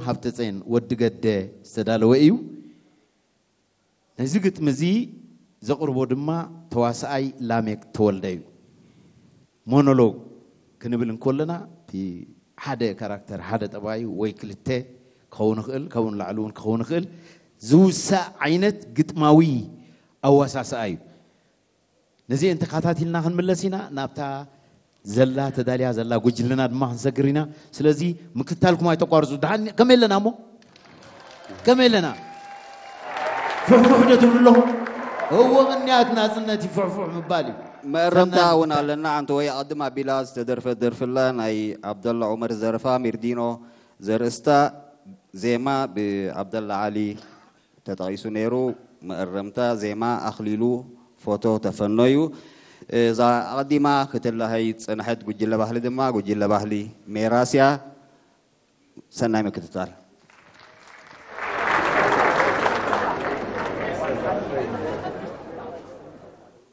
ሃብተፀየን ወዲ ገደ ዝተዳለወ እዩ። ነዚ ግጥሚ እዚ ዘቕርቦ ድማ ተዋስኣይ ላሜክ ተወልደ እዩ። ሞኖሎግ ክንብል እንከለና እቲ ሓደ ካራክተር፣ ሓደ ጠባይ ወይ ክልተ ክኸውን ይኽእል፣ ካብኡ ንላዕሊ እውን ክኸውን ይኽእል፣ ዝውሳእ ዓይነት ግጥማዊ ኣዋሳስኣ እዩ። ነዚአን ተኸታቲልና ክንምለስ ኢና። ናብታ ዘላ ተዳልያ ዘላ ጉጅለና ድማ ክንሰግር ኢና። ስለዚ ምክትታልኩም ኣይተቋርፁ። ደሓን ከመይ ኣለና እሞ? ከመይ ኣለና? ፍሕፉሕ ዶ ትብሉ ኣለኹም? እወ፣ ቅንያት ናፅነት እዩ ፍሕፉሕ ምባል እዩ። መእረምታ ሰናይ እውን ኣለና። ኣንተ ወይ ኣቐድም ኣቢላ ዝተደርፈት ደርፍላ ናይ ዓብደላ ዑመር ዘረፋ ሚርዲኖ ዘርእስታ ዜማ ብዓብደላ ዓሊ ተጠቒሱ ነይሩ። መእረምታ ዜማ ኣኽሊሉ ፎቶ ተፈኖ እዩ። እዛ ኣቐዲማ ክትላሃይ ዝጸንሐት ጉጅለ ባህሊ ድማ ጉጅለ ባህሊ ሜራስያ። ሰናይ ምክትታል።